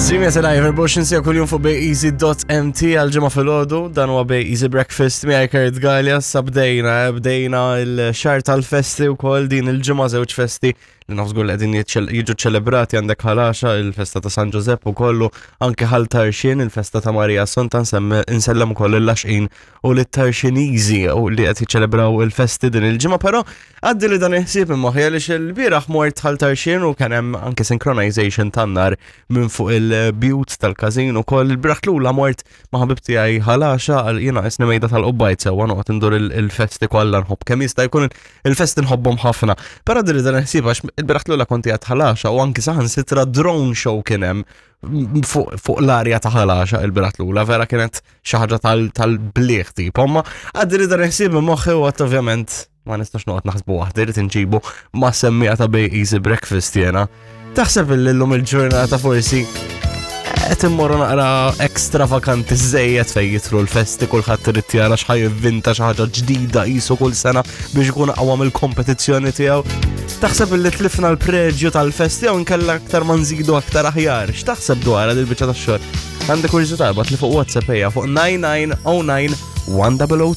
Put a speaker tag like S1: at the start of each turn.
S1: Streamja tal-live 24 sija kuljum fuq bayeasy.mt għal-ġimgħa filgħodu, dan huwa Bay Easy Breakfast miegħi Kurt Gallia, sa bdejna, eh, bdejna l-xahar tal-festi wkoll din il-ġimgħa żewġ festi li naf żgur li qegħdin jiġu ċelebrati għandek ħalaxa il-festa ta' San Ġużepp ukollu anke ħal Tarxien il-festa ta' Marija Assunta nsellem ukoll il-Laxqin u lit-Tarxiniżi u li qed jiċċelebraw il-festi din il-ġimgħa, però għaddi li dan il-ħsieb minn moħħi għaliex il-bieraħ mort Ħal Tarxien u kien hemm anke synchronization tan-nar minn fuq il-bjut tal-każin ukoll. Il-bieraħ tlula mort ma' ħabib tiegħi ħalaxa għal jiena isni mejda tal-qubbajt sewwa noqgħod indur il-festi kollha nħobb kemm jista' jkun il-festi nħobbhom ħafna. Però għaddi li dan il-ħsieb għax il-bieraħ tlula kont qiegħed ħalaxa u anke saħansitra drone show kien hemm fuq l-arja ta' ħalaxa il-birat l-ula, vera kienet xi ħaġa tal-bliħ tipo, ma għaddi li dan il-ħsieb minn moħħi u għat ovvjament ma nistax noqgħod naħsbu waħdi li tinġibu ma' semmija ta' Bay Easy Breakfast jena. Taħseb illum il-ġurnata forsi qed immorru naqra extravaganti żejjed fejn jitru l-festi kulħadd irid jara x'ħaj jivvinta xi ħaġa ġdida qisu kull sena biex ikun aqwa mill-kompetizzjoni tiegħu. Taħseb li tlifna l-preġju tal-festi jew inkella aktar ma nżidu aktar aħjar. X'taħseb dwar din il-biċċa tax-xogħol? Għandek kurżità li fuq WhatsApp ejja fuq 9909 1002.